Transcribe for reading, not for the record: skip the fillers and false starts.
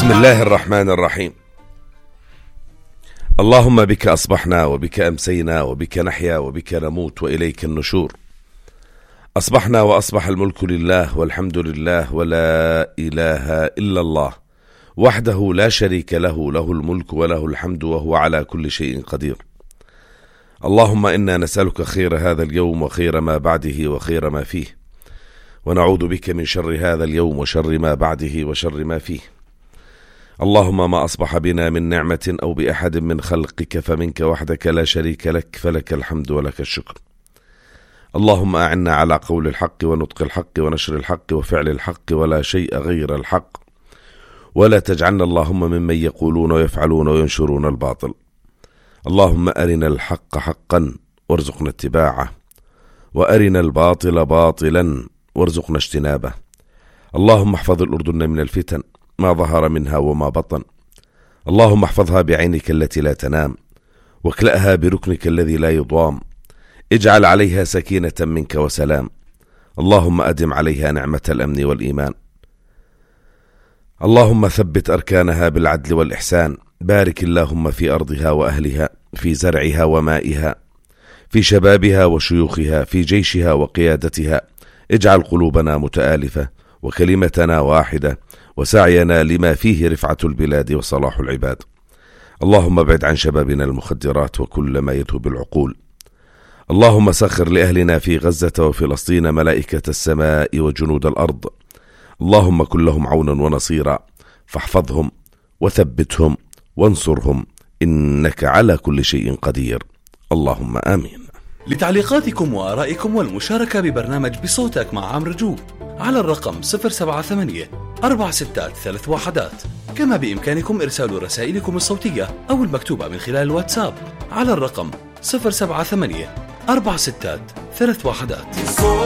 بسم الله الرحمن الرحيم. اللهم بك أصبحنا وبك أمسينا وبك نحيا وبك نموت وإليك النشور. أصبحنا وأصبح الملك لله والحمد لله ولا إله إلا الله وحده لا شريك له، له الملك وله الحمد وهو على كل شيء قدير. اللهم إنا نسألك خير هذا اليوم وخير ما بعده وخير ما فيه، ونعوذ بك من شر هذا اليوم وشر ما بعده وشر ما فيه. اللهم ما أصبح بنا من نعمة أو بأحد من خلقك فمنك وحدك لا شريك لك، فلك الحمد ولك الشكر. اللهم أعنا على قول الحق ونطق الحق ونشر الحق وفعل الحق ولا شيء غير الحق، ولا تجعلنا اللهم ممن يقولون ويفعلون وينشرون الباطل. اللهم أرنا الحق حقا وارزقنا اتباعه، وأرنا الباطل باطلا وارزقنا اجتنابه. اللهم احفظ الأردن من الفتن ما ظهر منها وما بطن. اللهم احفظها بعينك التي لا تنام، واكلأها بركنك الذي لا يضام. اجعل عليها سكينة منك وسلام. اللهم أدم عليها نعمة الأمن والإيمان. اللهم ثبت أركانها بالعدل والإحسان. بارك اللهم في أرضها وأهلها، في زرعها ومائها، في شبابها وشيوخها، في جيشها وقيادتها. اجعل قلوبنا متآلفة وكلمتنا واحدة وسعينا لما فيه رفعة البلاد وصلاح العباد. اللهم ابعد عن شبابنا المخدرات وكل ما يذهب العقول. اللهم سخر لأهلنا في غزة وفلسطين ملائكة السماء وجنود الأرض. اللهم كن لهم عونا ونصيرا، فاحفظهم وثبتهم وانصرهم، إنك على كل شيء قدير. اللهم آمين. لتعليقاتكم وآرائكم والمشاركة ببرنامج بصوتك مع عمرو جوب على الرقم 078-463-1. كما بإمكانكم إرسال رسائلكم الصوتية أو المكتوبة من خلال الواتساب على الرقم 078-463-1.